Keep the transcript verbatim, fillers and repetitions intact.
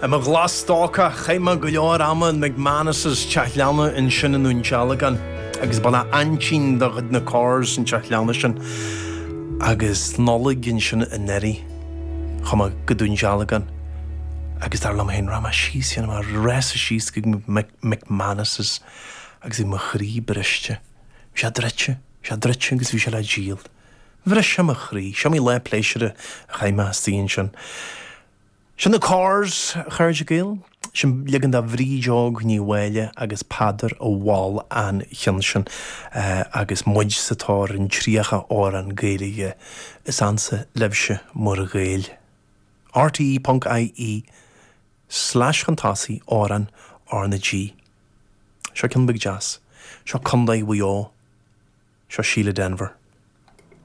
I mo ghlas-stócach, chaith mé go leor ama in McManus's, teach leanna ansin i nDún Dealgan, agus ba le aintín de chuid na Corrs an teach leanna sin. Agus Nollaig ansin anuraidh, chuaigh mé go Dún Dealgan agus dar liom féin, rachaidh mé síos, dhéanfaidh mé rása síos go McManus's agus bhí mo chroí briste. Bhí sé druidte, bhí sé druidte agus bhí sé le díol. Bhris sé mo chroí. Is iomaí lá pléisiúrtha a chaith mé istigh ansin. Sin na Corrs, a chairde Gael. Sin leagan de Bhríd Óg Ní Mháille agus Peadar a mhol an cheann sin agus muid sa tóir ar an tríocha amhrán Gaeilge is ansa libhse mar Ghaeil. RTE ponc IE slash chun tosaigh amhrán R na G. Seo ceann beag deas. Seo Contae Mhaigh Eo. Seo Síle Denvir.